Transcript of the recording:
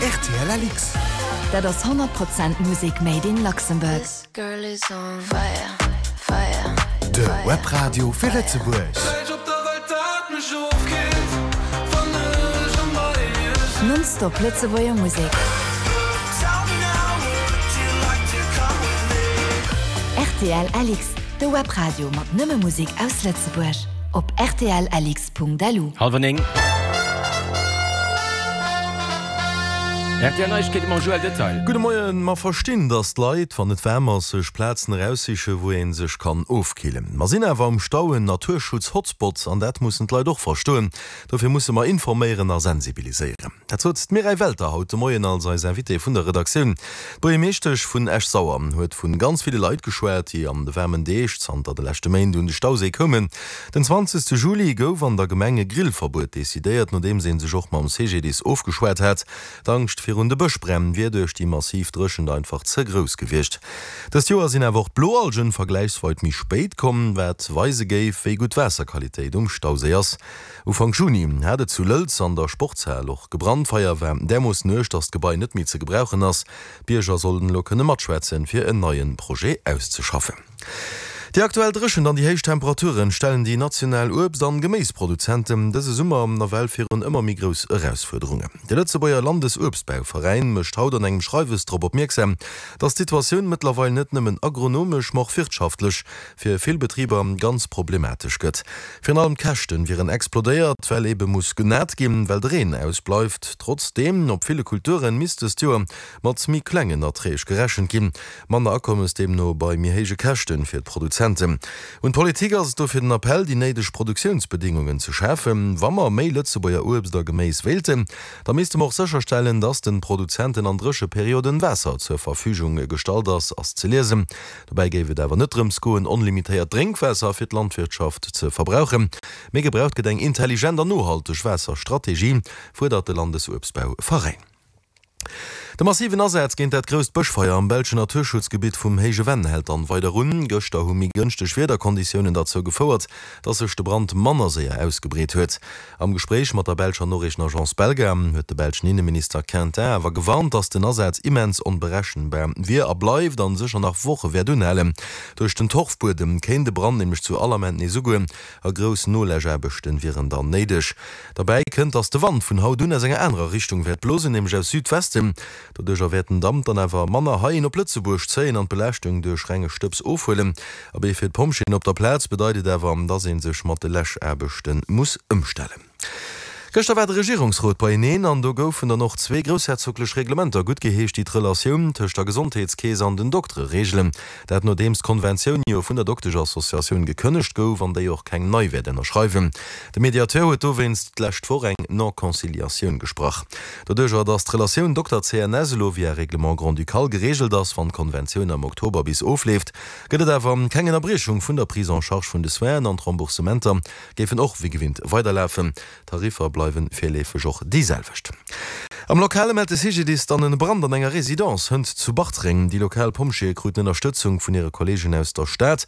Rtl LX. Dat ass 100 Prozent Musek made in Luxembourg. De Webradio fir Lëtzebuerg. Nonstop Lëtzebuerger Musek. Rtl LX, de Webradio mat nëmme Musek aus Lëtzebuerg. Op rtlx.lu. Halwer 9. RTL Neiegkeete mam Joël Detail. Gudde Moien. Mer verstinn, datt d'Leit, wann et waarm ass, sech Plazen eraussichen, wou ee sech kann ofkillen. Mer sinn awer um Stau en Naturschutz-Hotspot an dat mussen d'Leit och verstoen. Dofir musse mer informéieren a sensibiliséieren. Dat sot d'Mireille Welter haut de Moien als eis Invitée vun der Redaktioun. D'Buergermeeschtesch vun Esch-Sauer huet vu ganz ville Leit geschwat, déi an de waarmen Deeg zanter de leschte Méint un de Stauséi koumen. Den 20 Juli gouf an der Gemeng e Grillverbuet decidéiert, nodeems ee sech och mam CGDIS ofgeschwat hat. D'Angscht virun de Bëschbränn wier duerch déi massiv Dréchent einfach ze grouss gewiescht. Dëst Joer sinn awer och d'Bloalgen vergläichsweit méi spéit komm, wat weise géif, wéi gutt d'Waasserqualitéit um Stauséi ass. Ufank Juni hat et zu Lëlz an der Sportshal och gebrannt. D'Feier war därmoossen uerg, datt d'Gebai net méi ze gebrauchen ass. D'Bierger sollen elo kënne matschwätzen, fir en neie Projet auszeschaffen. Déi aktuell Dréchent an déi héich Temperaturen stellen déi national Uebst an Geméisproduzenten dëse Summer nawell virun ëmmer méi grouss Erausfuerderungen. De Lëtzebuerger Landesuebstbauveräin mécht haut an engem Schreiwes drop opmierksam, datt d'Situatioun mëttlerweil net nëmmen agronomesch, ma och wirtschaftlech fir vill Betriber ganz problematesch gëtt. Virun allem d'Käschten wieren explodéiert, well ebe muss genat ginn, well de Reen ausbleift. Trotzdeem, op ville Kulturen misst dëst Joer mat méi klengen Erträg gerechent ginn. Manner Akommes deemno bei méi héije Käschten fir d'Produzenten. Un d'Politik ass et dofir den Appell, déi néideg Produktiounsbedingungen ze schafen. Wa mer méi Lëtzebuerger Uebst a Geméis wéilten, da misste mer och sécherstellen, dass den Produzenten an Drécheperioden Waasser zur Verfügung gestallt ass, ass ze liesen. Dobäi géif et awer net drëms goen, onlimitéiert Drénkwaasser fir d'Landwirtschaft ze verbrauchen, mee gebraucht gëtt eng intelligent an nohalteg Waasserstrategie, fuerdert de Landesuebstbauveräin. De massiven Asaz géint dat grousst Bëschfeier am belschen Naturschutzgebitt vum Héije Venn hält dann weider un. Gëschter hu méi gënschteg Wiederkonditiounen derzou gefouert, datt sech de Brand manner séier ausgebreet huet. Am Gespréich mat der belscher Noriichtenagence Belga huet de belschen Inneminister Quintin awer gewarnt, datt den Asaz immens onberechenbar wier a bleift an sécher nach Woche wäert unhalen. Duerch den Torfbuedem kéint de Brand nämlech zu all Ament nees ugoen a grouss Noläschaarbechte wieren dann néideg. Derbäi kënnt, datt de Wand vun haut un aus enger anerer Richtung wäert blosen, nämlech aus Südwesten. Doduercher wäert den Damp dann awer manner heihin op Lëtzebuerg zéien an d'Belaaschtung duerch renge Stëbs ofhuelen. Abee, fir d'Pompjeeën op der Plaz bedeit et awer, dass ee sech mat de Läschaarbechte muss ëmstellen. Gëschter war de Regierungsrot beieneen an do goufen dann och zwee groussherzoglech Reglementer guttgeheescht, déi d'Relatioun tëscht der Gesondheetskeess an den Doktere reegelen. Dat nodeems d'Konventioun jo vun der Dokteschassociatioun gekënnegt gouf an déi och keng nei wäert ënnerschreiwen. De Mediateur huet dowéinst d'lescht Woch eng Non-Conciliatioun gesprach. Doduercher, datt d'Relatioun Dokter-CNS elo via Règlement grand-ducal gereegelt ass, wann d'Konventioun am Oktober bis ofleeft, gëtt et awer keng Ënnerbriechung vun der Prise en charge vun de Soinen an d'Remboursementer géifen och wéi gewinnt weiderlafen. D'Tariffer bleiwe virleefeg och déi selwecht. Am Lokale mellt de CGDIS dann en Brand an enger Residence hënt zu Bartreng. Déi lokal Pompjeeë kruten Ënnerstëtzung vun hire Kolleegen aus der Stad.